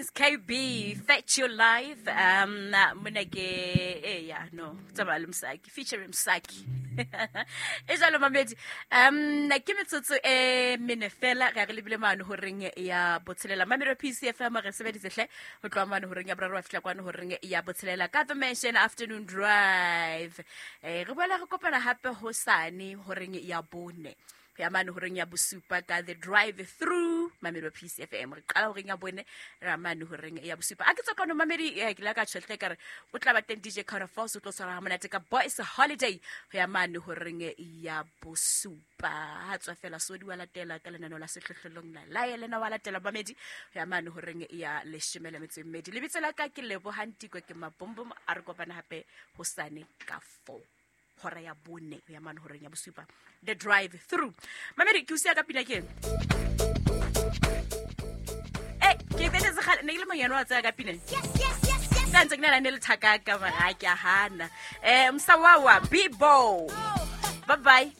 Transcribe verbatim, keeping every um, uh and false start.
Prince K B, Fetch Your Life. Um, mona ke eh ya no, tsamaya le Msaki, featuring Msaki. E jalo mamedi. Um, ke metsotso e mene fela re re lebile mane horeng ya botshelela. Mamedi P C F M re sebeditse hle ho tloha mane horeng ya boraro wa fihla kwana horeng ya botshelela ka The Mansion Afternoon Drive. Eh, re boela re kopana hape hosane horeng ya bone. Ya mane horeng ya bosupa ka The Drive Through Mamedi P C F M. Re qala horeng ya bone ra mane horeng ya bosupa. A ke tswa kwano mamedi, eh, ke la ka tjhelete ka re o tla ba teng D J Carter Force o tlo tshwara ha monate ka Boys Holiday ho ya mane horeng ya bosupa. Ha tswa fela sodi wa latela ka lenaneo la sehlohlolong la la lena wa latela mamedi ho ya mane horeng ya leshome le metso e mmedi. Lebitso la ka ke Lebohang Tiko ke Mabombom. A re kopana hape hosane ka four. Hora ya bone ya mane horeng ya bosupa. The Drive Through. Mamedi ke o siya ka pina ke eng? Eh, ke bele se kgale, ne ke le monyane wa tsaya ka pina. Yes, yes, yes, yes. Ka ntse ke na le ne le thaka ka mara ha ke a hana. Eh, Msawawa, Bibo. Bye bye.